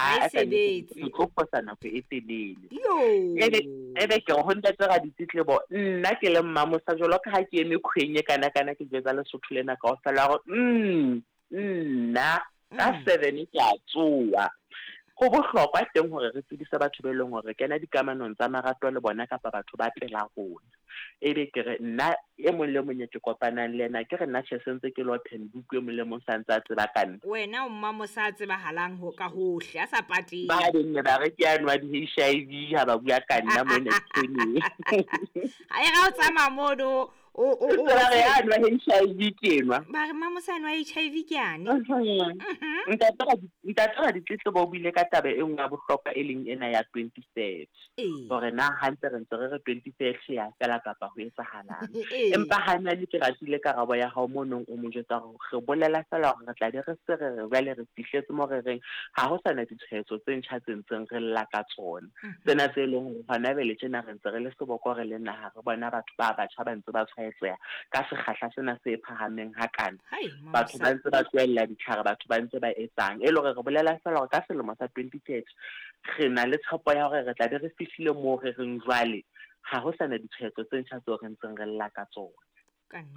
Ha e sebetse. Ke tlo fosa nako e telele. Yo. Ebe ke re ho ntate Raditletlebo, nna ke le Mmamosa jwalo ka ha ke eme kgweng e kana kana ke jwetsa Lesotho lena kaofela hore nna ka 7 ke a tsoha. Ho bohlokwa teng hore re tsebise batho be leng hore re kena dikamanong tsa marato le bona kapa batho ba pela rona. Ebe ke re nna e mong le mong e ke kopanang le yena, ke re nna tjhe sentse ke le open book, e mong le mong sa ntse a tseba ka nna. Wena o Mmamosa a tsebahalang ho ka hohle, a sa pateng. Ba beng ne ba re ke ano wa di-HIV ha ba bua ka nna mona ditshweneng. Ha e ra o tsamaya mono, o Ba re ano wa HIV ke enwa. Ba re Mmamosa ano wa HIV ke ane. Ntate Raditletlebo o buile ka taba e nngwe ya bohlokwa e leng ena ya 2030. Hore na hantle re ntse re re 2030 ya fela kapa ho etsahalang. Empa ha nna le ke ratile karabo ya hao mo nong o mo jwetsa hore re bolela fela hore re tla be re se re re jwale re fihletse mo re reng ha ho sana ditshwaetso tse ntjha tse ntseng re lla ka tsona. Tsena tse leng hore hona jwale tjena re ntse re le seboko re le naha re bona batho ba batjha ba ntse ba tshwaetseha ka sekgahla sena se phahameng hakana. Batho ba ntse ba tlohella ditlhare, batho ba ntse ba etsang. E le hore re bolela fela hore ka selemo sa 2030 re na le tshepo ya hore re tla be re fihlile moo re reng jwale ha ho sana ditshwaetso tse ntjha tseo re ntseng re lla ka tsona.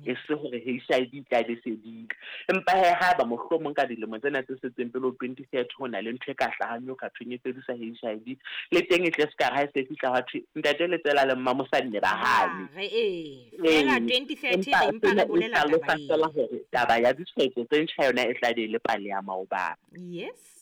E se hore HIV tla be fedile. Empa he haeba mohlomong ka dilemo tsena tse setseng pele ho 2030 ho na le ntho e ka hlahang eo ka thweng e fedisa HIV, le teng e tle se ka re ha e se fihla hwa thwe ntate Letsela le Mmamosa nne ba hane. Re fela 2030 re mpa re bolela taba e. Fela hore taba ya ditshwaetso tse ntjha yona e tla be e le pale ya maobane. Yes.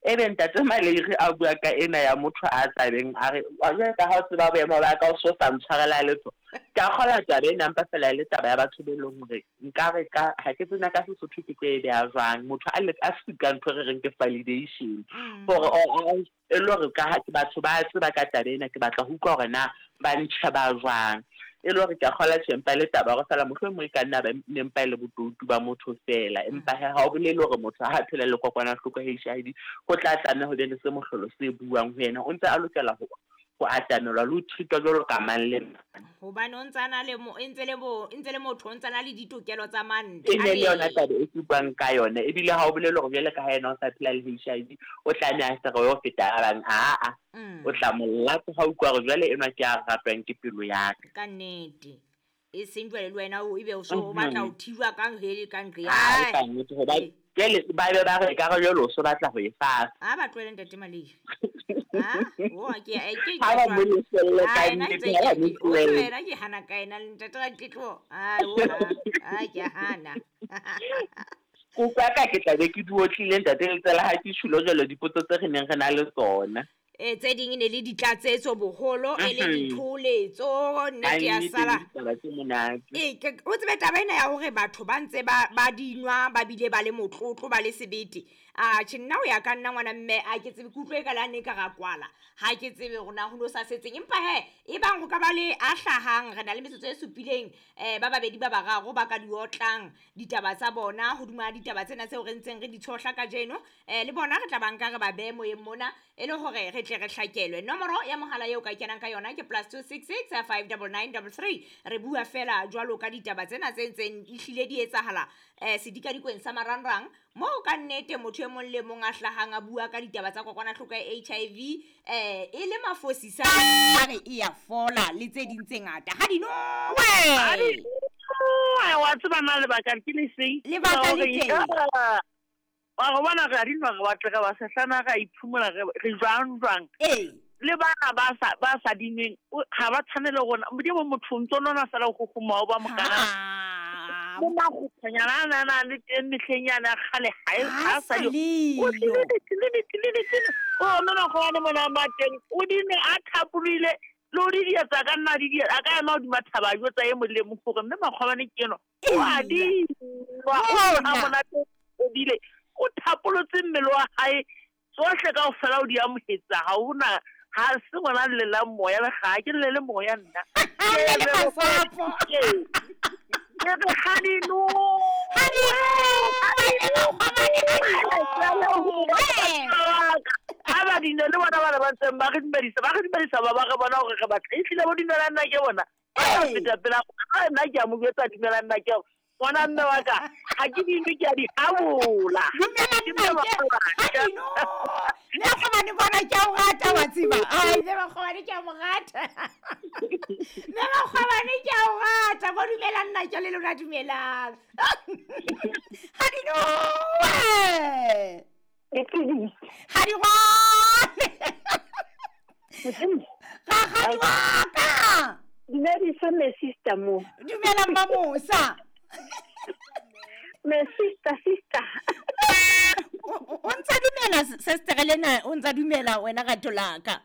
Ebe ntate Maleiri a bua ka ena ya motho a tlabeng a re wa jwale ka ha o tseba boemo ba ka o so sa ntshwarela letho. Ke a kgolwa taba ena mpa fela e le taba ya batho be leng hore nka re ka ha ke tsena ka Sesotho ke tlo e beha jwang. Motho a le a sika ntho re reng ke validation. Hore e le hore ka ha batho ba tseba ka taba ena, ke batla ho utlwa hore na ba ntjheba jwang. E le hore ke a kgolwa tjhe empa le taba hore fela mohlomong e ka nna ba ne mpa e le botoutu ba motho fela. Empa he ha o bolele hore motho ha phela le kokwanahloko ya HIV ho tla tlameha ho be le se mohlolo se buang ho yena. O ntse a lokela ho atamelwa le ho treatwa jwalo ka mang le mang. Hobane o ntse a na le mo, ntse le bo, ntse le motho, o ntse a na le ditokelo tsa mantlha. E ne le yona taba e ke buang ka yona. Ebile ha o bolele hore jwale ka ha yena o sa phela le HIV, o tlameha a se re ho feta ba bang. Aa. O tla mo latsa ha utlwa hore jwale enwa ke a ratwang ke pelo ya ka. Ka nnete. E seng jwale le wena o ebe o so o batla ho thijwa ka hele ka nqe. Ai, ka nnete, hobane jwale ba be ba re ka re jwale o so batla ho e fasa. Ha ba tlohele ntate Maleiri. Ha? O ke ke Ha ba mo lefelle ka Ai, nna nnete, ntse ha ba ke mo o tlohelle. tlohela ke hana ka ena le ntate Raditletlebo. Ai, o ha. Ai, ke a hana. Kopa ka ke tla be ke di otlile ntate Letsela ha ke tjhulo jwalo dipotso tse re neng re na le tsona. Tse ding e ne le ditlatsetso boholo, e le ditholetso, nnete ya sala. Taba tse monate. O tsebe taba ena ya hore batho ba ntse ba dinwa, ba bile ba le motlotlo, ba le sebete. A tjhe, nna ho ya ka nna ngwana mme, a ke tsebe, ke utlwe e ka la ne ka ra kwala. Ha ke tsebe hore na ho no sa setseng. Empa he, e bang ho ka ba le a hlahang, re na le metsotso e supileng, ba babedi ba bararo ba ka di otlang ditaba tsa bona hodima ditaba tsena tseo re ntseng re di tshohla kajeno. Le bona re tla ba nka re ba behe moyeng mona, e le hore re tle re hlakelwe. Nomoro ya mohala eo ka kenang ka yona ke +266 599 33. Re bua fela jwalo ka ditaba tsena tse ntseng ehlile di etsahala, sedikadikweng sa marangrang, moo ka nnete motho e mong le mong a hlahang a bua ka ditaba tsa kokwanahloko ya HIV, e le mafosisa a re e ya fola le tse ding tse ngata. Ha di nowe! Wa tseba na lebaka ke le feng? Lebaka le teng. Wa go bona re a di nwa, re batle re ba sehlana, re a iphumola, re jwang jwang. Le bana ba sa dinweng, ha ba tshwane le rona. Modimo motho o ntso nona fela ho kgoma o ba mokana. Mo makgutshwanyana a na na le teng mehleng yane ya kgale, ha e, ha sa le. O tlile, tlile, tlile, tlile. O mme makgobane mona ma teng, o di nwe a thapolohile, le o di dietsa ka nna di dietsa, a ka ema hodima thaba a jwetsa e mong le mong hore mme makgobane ke enwa. O a di nwa, o ha monate o bile. O thapolotse mmele wa hae, tsohle kaofela o di amohetse, ha hona, ha se ngwana a llelang moya, le ga ke llele moya nna. Ha le masapo. Ke re ha di no. Ha di no. Ha ba di no, le bona bana ba ntseng ba re dumedisa, ba re dumedisa, ba ba re bona hore re batla. Ehlile bo dumelang nna ke bona. Ba tla feta pela rona. Ha nna ke a mo jwetsa dumelang nna ke hore ngwana mme wa ka, ha ke di nwe, ke a di habola. Dumela Ke mme nna ke, wa ka. ha di no. mo rata. Mme Makgwabane ke a o rata. Bo dumelang nna ke le lona dumelang. Ha di nowe. Ha di gone. Rakgadi wa ka. Dumedisa me sister mo. Dumela Mmamosa. Me sister sister. O ntsa dumela sister lena, o ntsa dumela wena rato la ka.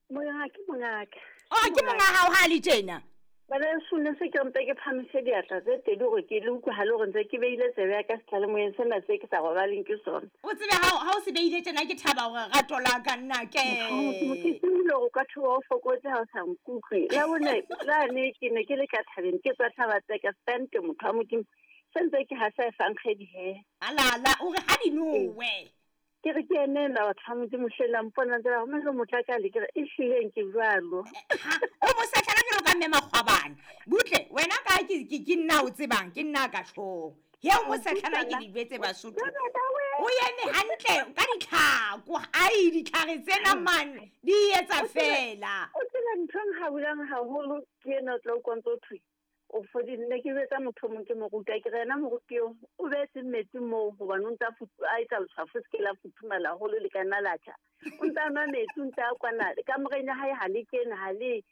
Monga ke mongaka. Oh, ke monga hao ha le tjena. Bana sone se ke mpe ke phamise diatla tse tedi hore ke le utlwe ha le hore ntse ke beile tsebe ya ka setlalemoyeng sena se ke sa robaleng ke sona. O tsebe ha o se beile tjena ke thaba hore rato la ka nna ke. Ke tsebile hore o ka thoba o fokotse ha o sa nkutlwe. La bone la ne ke ne ke le ka thabeng ke tswa thaba tse ka stante motho wa Modimo. Se ntse ke hasa e fang kgedi he. Alala o re ha di nowe. Ke re ke ene la batho ba Modimo hle la mpona ntse ba re motho a ka le ke re e hlileng ke jwalo. O mo setlhana jwalo ka mme Makgwabane. Butle wena ka ke ke nna o tsebang ke nna ka tjhong. He o mo setlhana ke di jwetse Basotho. O eme hantle ka ditlhako. Ai ditlhare tsena man di etsa fela. O tseba ntho e nkgabulang haholo ke ena o tla utlwa ntse o thwe. O fodile ne ke jwetsa motho o mong ke mo ruta ke re yena moruti eo o beetse metsi moo hobane o ntse a etsa letshwafo se ke la futhumala haholo le ka nna la tjha. O ntse a nwa metsi o ntse a kwana kamoreng ya hae ha le kene ha le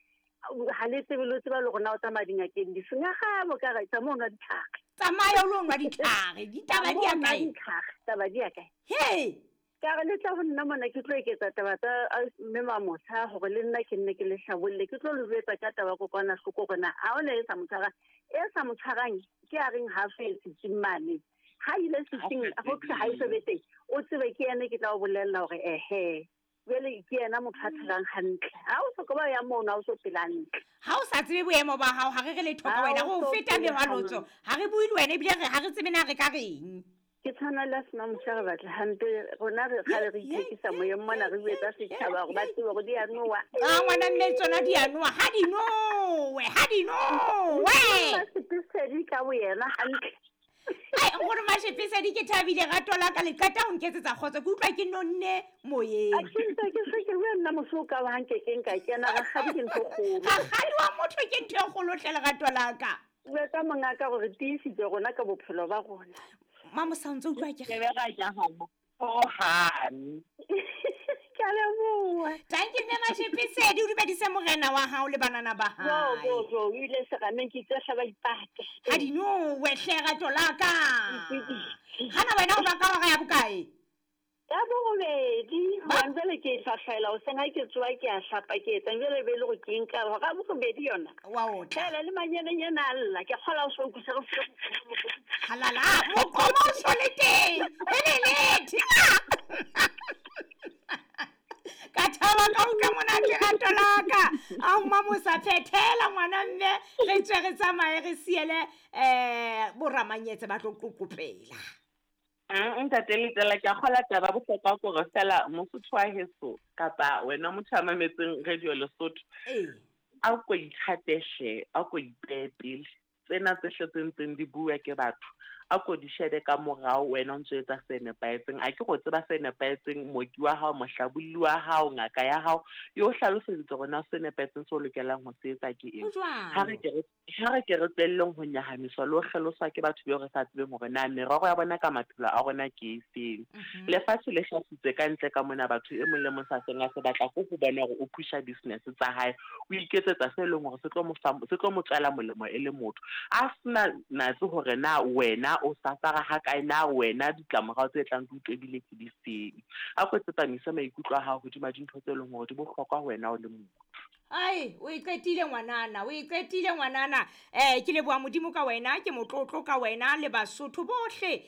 tsebe le tseba le hore na o tsamaya dingakeng difeng. Akga bo ka re tsamaya o nwa ditlhare. Tsamaya o lo nwa ditlhare, ditaba di ya kae? Taba di ya kae? He! Ka re le tla ho nna mona ke tlo eketsa taba tsa mme Mamosa hore le nna ke nne ke le hlabolle ke tlo le jwetsa ka taba kokwanahloko hore na ha ona e sa mo tshwarang e sa mo tshwarang ke a reng ha so e setsing mane ha ile setsing ho thwe ha e so be teng o tsebe ke yena ke tla o bolella hore ehe jwale ke yena motho a phelang hantle ha o so ka ba ya mono ha o so phela hantle ha o sa tsebe boemo ba hao ha re re letho ka wena go feta mehwalotso ha re bue le wena ebile ha re tsebe na re ka reng. Ke tshwana le sena mosha re batla hampe rona re kgale re ithekisa moyeng mona re buetsa setjhaba hore ba tsebe hore di a nowa. A ngwana mme tsona di a nowa ha di nowe ha di nowe. Mashepesedi ka boyena hantle. Ai nkgono Mashepesedi ke thabile rato la ka le qeta ho nketsetsa kgotso ke utlwa ke nonne moyeng. A ke ntse ke se ke bua nna moso ka wa hanke ke nka kena rakgadi ke ntho e kgolo. Rakgadi wa motho ke ntho e kgolo hle lerato la ka. Jwetsa mongaka hore tiisitse rona ka bophelo ba rona. Mamosa o ntse utlwa ke re. Hohang. Ke a leboha. Thank you mme Mashepesedi o dumedise morena wa hao le banana ba hae. Jo jo jo o ile serameng ke itse hlaba ipate. Ha di nowe hle rato la ka. Hana wena o baka hora ya bokae? Ya borobedi. Hobane jwale ke hlwahlwaela hoseng ha ke tsoha ke a hlapa ke etsang jwale be le hore ke nka hora borobedi yona. Wa otla. Fela le manyenenyana a lla ke kgola o so utlwisa re file. Halala moqomo o so le teng. Helele. Ka thaba ka utlwa monate rato la ka. A Mamosa phethela ngwana mme re tswe re tsamaye re siele boramanyetse ba tlo qoqopela. Ntate Letela ke a kgola taba bohlokwa kore fela Mosotho wa heso kapa wena motho a mametseng radio Lesotho a ko ithate hle a ko ipehe pele tsena tse hle tse ntseng di bua ke batho a ko di shebe ka morao wena o ntso etsa se nepahetseng a ke go tseba se nepahetseng mooki wa hao mohlabolli wa hao ngaka ya hao e o hlaloseditse hore na se nepahetseng se o lokelang ho se etsa ke eng. Ha re ke re tswelleng ho nyahamiswa le ho kgeloswa ke batho beo re sa tsebeng hore na merero ya bona ka maphelo a rona ke efeng. Lefatshe le hlasitse ka ntle ka mona batho e mong le mong sa seng a se batla ko ho bona hore o pusha business tsa hae o iketsetsa se leng hore se tlo mo tswela molemo e le motho a sena natse hore na wena o safara ha kae na wena ditlamorao tse tlang di utlwebile ke di feng. A ko tsepamise maikutlo a hao hodima dintho tse leng hore di bohlokwa ho wena o le motho. Ai o iqetile ngwanana o iqetile ngwanana ke leboha Modimo ka wena ke motlotlo ka wena le Basotho bohle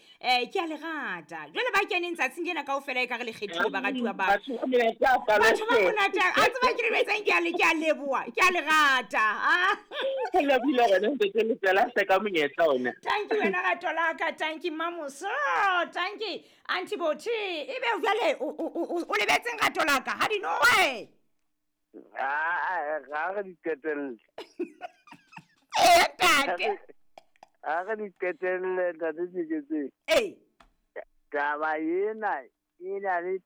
ke a le rata jwale ba keneng tsatsing lena kaofela e ka re le kgethile baratuwa ba batho ba monate a tseba ke le jwetsang ke a leboha ke a le rata. Ke lebohile rona ntate Letela hle ka monyetla ona. Thank you wena rato la ka thank you Mamosa thank you Auntie Bothe ebe jwale o lebetseng rato la ka ha di nowe. Ga re di qetelle. Ntate. Ha re di qetelle ntate Tjeketseng. Ee. Taba ena e na le